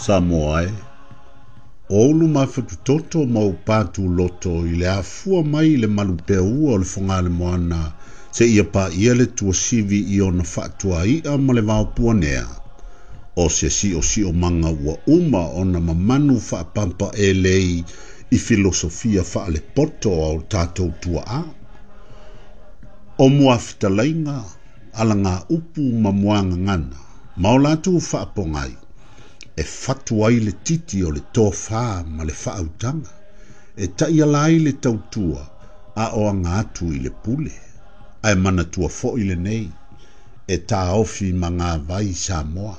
Samoa e, o ou luma fatutoto ma ou patuloto i le afua mai i le malupeaua o le Fogalemoana seia paia le tuasivi i ona faatuai'a ma le vaopuanea, o se siosiomaga ua uma ona mamanu faapampaelei i filosofia faalepoto a o tatou tuaa. O muafetalaiga, alagaupu ma muagagana, ma o latou faapogai, e fatu ai le titi o le tofā ma le faautaga, e taiala ai le tautua a o aga atu i le pule. Ae manatua foi lenei, e taofi magavai Samoa.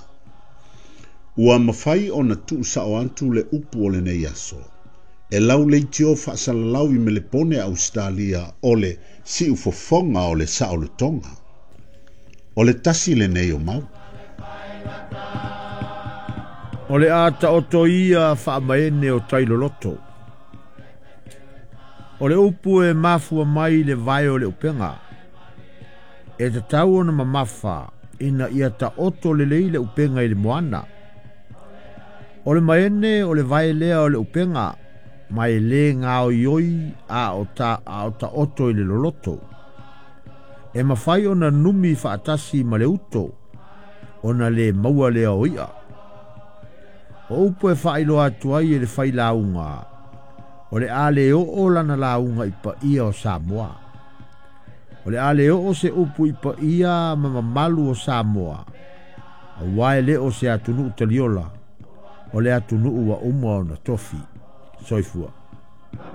Ua mafai ona tuusao atu le upu o lenei aso, e lau leitio faasalalau i Melepone Ausetalia o le siufofoga o le saolotoga. O le tasi lenei o mau. O le a taoto ia faamaene o tailoloto. O le upu e mafua mai le vae o le upega. E tatau ona mamafa ina ia taoto lelei le upega i le moana. O le maene o le vae lea o le upega, ma e lē gaoioi a o ta a o taoto i le loloto. E mafai ona numi faatasi ma le uto, ona le maua lea o i'a. O upu e faailoa atu ai e le failauga, o le a le oo lana lauga i paia o Samoa. O le a le oo se upu i paia ma mamalu o Samoa, auā e le o se atunuu taliola, o le atunuu ua uma ona tofi. Soifua.